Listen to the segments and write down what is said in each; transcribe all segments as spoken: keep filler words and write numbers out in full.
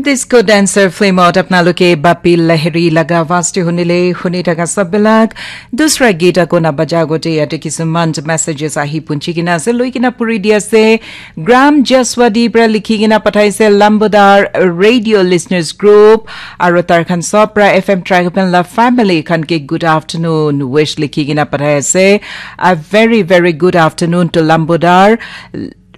Disco Dancer film out apnaloke Bapil Lahiri laga vaste hunile huni thaka sabilak. Dusra gita kona baja gote yate kisuman messages ahi punchi kina ase, lui kina puri di ase. Gram Jaswadi pra likhi kina pathaise Lambodar Radio Listeners Group. Aro tar khan sob pra F M Tragopan la family khan ke good afternoon wish likhi kina pathai ase. A very, very good afternoon to Lambodar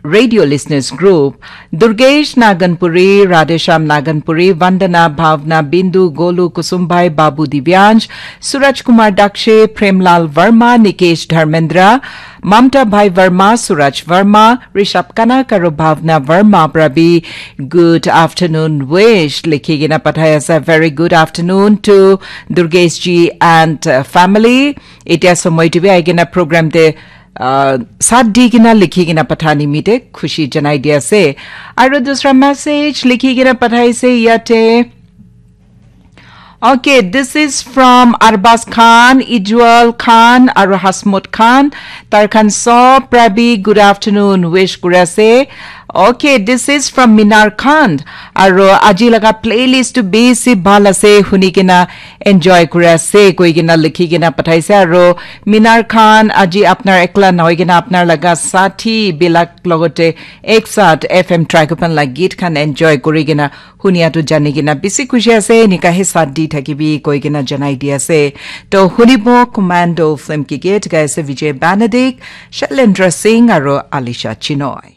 Radio Listeners Group, Durgesh Naganpuri, Radhesham Naganpuri, Vandana, Bhavna, Bindu, Golu, Kusumbai, Babu Divyansh, Suraj Kumar Dakshe, Premlal Verma, Nikesh Dharmendra, Mamta Bhai Verma, Suraj Verma, Rishabh Kanak, aro Bhavna Verma pra bi good afternoon wish likhi kena pathai ase. Very good afternoon to Durgesh ji and uh, family. Etia somoi tu bi ahi kena program te uh, sat di kena likhi kena patha nimite khushi janai di ase. Aru dusra message likhi kena pathaise yate. Okay, this is from Arbaz Khan, Ijwal Khan, aru Hasmut Khan. Tar khan sob pra bi good afternoon wish kuri ase. Okay, this is from Minar Khan. Aru aji laga playlist tu bisi bhal ase, huni kena enjoy kuri ase koi kena likhi kena pathaise. Aru Minar Khan, aji apnar ekla nohoi kena apnar laga sathi bilak logote ek saath F M Tragopan la geet khan enjoy kuri kena hunia tu jani kena bisi khushi ase, enika he saath di thakibi koi kena janai di ase. To hunibo Commando film ki geet gaise Vijay Banadik, Shailendra Singh aru Alisha Chinoy.